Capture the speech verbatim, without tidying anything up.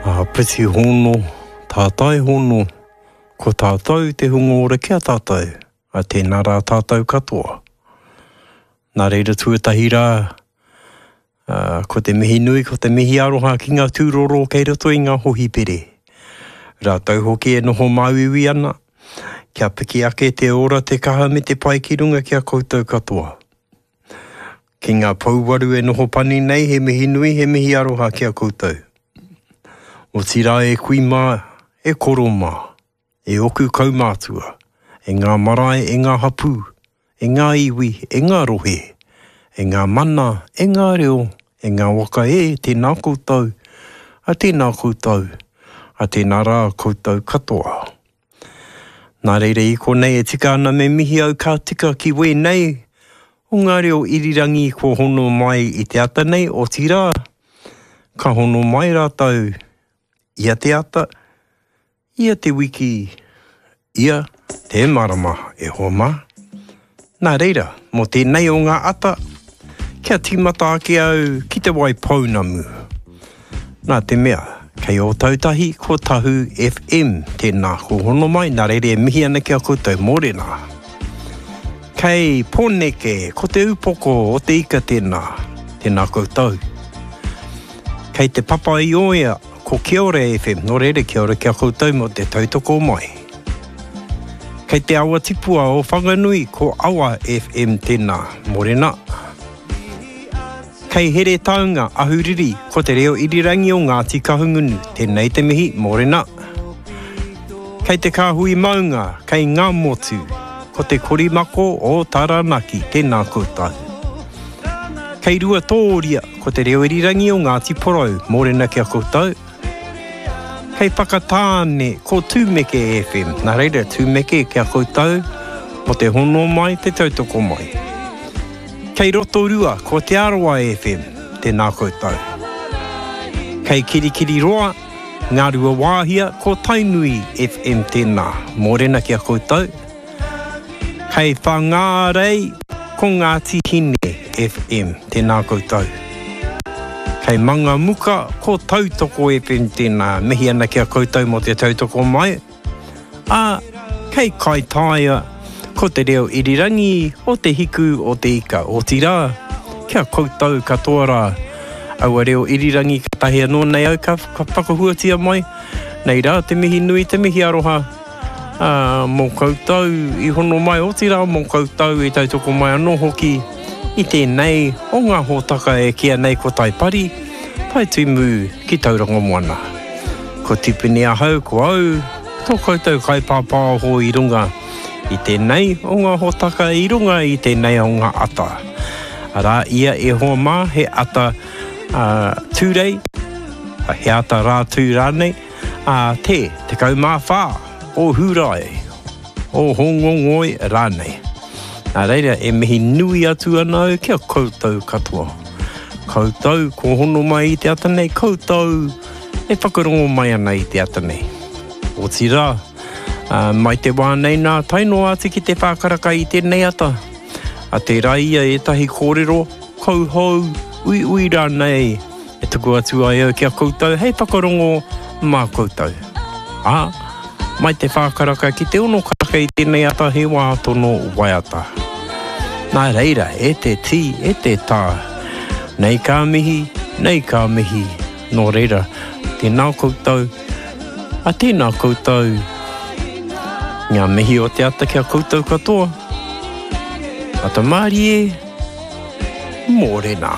Āpiti hono, tātai hono, ko tātou te hunga ora ki a tātou, a tēnā rā tātou katoa. Nā reira tuatahi rā, ā, ko te mihi nui, ko te mihi aroha ki ngā tūroro kei roto i ngā hohipere. Rātou hoki e noho māuiui ana, kia piki ake te ora, te kaha me te pai ki runga ki a koutou katoa. Ki ngā pouwaru e noho pani nei, he mihi nui, he mihi aroha ki a koutou. Otirā e kui mā, e koro mā, e oku kaumātua, e ngā marae, e ngā hapū, e ngā iwi, e ngā rohe, e ngā mana, e ngā reo, e ngā waka e, tēnā koutou, a tēnā koutou, a tēnā rā koutou katoa. Nā reira i konei e tika ana me mihi au ka tika ki wēnei o ngā reo irirangi kua hono mai i te ata nei, otirā, ka hono mai rātou ia te ata, ia te wiki, ia te marama, e hoa mā. Nā reira, mō tēnei o ngā ata, kia tīmata ake au ki te Waipounamu. Nā te mea, kei Ōtautahi ko Tahu F M, tēnā ko hono mai, nā reira e mihi ana ki a koutou, mōrena. Kei Pōneke, ko te upoko o te ika tēnā, tēnā koutou. Kei te Papa i Oea, ko Kiore F M, nō reira kia ora ki a koutou mō te tautoko mai. Kei te awa tipua o Whanganui, ko Awa F M tēnā, mōrena. Kei Heretaunga, Ahuriri, ko te reo irirangi o Ngāti Kahungunu, tēnei te mihi, mōrena. Kei te Kāhui Maunga, kei Ngāmotu, ko te Korimako o Taranaki, tēnā koutou. Kei Ruatōria, ko te reo irirangi o Ngāti Porou, mōrena ki a koutou. Kei Whakatāne, ko Tūmeke F M, nā reira Tūmeke ki a koutou, mo te hono mai, te tautoko mai. Kei Rotorua, ko Te Arawa F M, tēnā koutou. Kei Kirikiriroa, Ngā Ruawāhia, ko Tainui F M tēnā, mōrena ki a koutou. Kei Whangārei, ko Ngāti Hine F M, tēnā koutou. Kei Mangamuka, ko Tautoko F M tēnā, mihi ana ki a koutou mō te tautoko mai. Ā, kei Kaitaia, ko te reo irirangi o te hiku o te ika, otirā, kia koutou katoa rā. Aua reo irirangi katahi anō nei au ka, ka whakahuatia mai, nei rā te mihi nui, te mihi aroha, ā, mō koutou i hono mai, otirā mō koutou i tautoko mai anō hoki i tēnei o ngā hōtaka e kīa nei ko Taipari, Taitimu ki Tauranga Moana. Ko Tipene ahau, ko au, tō koutou kaipāpāho i runga i tēnei o ngā hōtaka, i runga i tēnei o ngā ata. Arā ia e hoa mā, he ata, ā, tūrei, he ata rā tū rānei, ā, te tekau mā whā o Hūrae, o Hongongoi rānei. Nā reira, e mihi nui atu ana au ki a koutou katoa. Koutou ko hono mai i te ata nei, koutou e whakarongo mai ana i te ata nei. Otirā, ā, mai te wā nei nā, tae noa atu ki te whākaraka i tēnei ata. A tērā ia ētahi kōrero, kauhou, uiui rānei, e tuku atu ai au ki a koutou hei whakarongo mā koutou. Ā, mai te whākaraka ki te ono karaka i tēnei ata he wā tono waiata. Nā reira, e te tī, e te tā, nei ka mihi, nei ka mihi, nō reira, tēnā koutou, a tēnā koutou, ngā mihi o te ata ki a koutou katoa. Ata mārie, mōrena.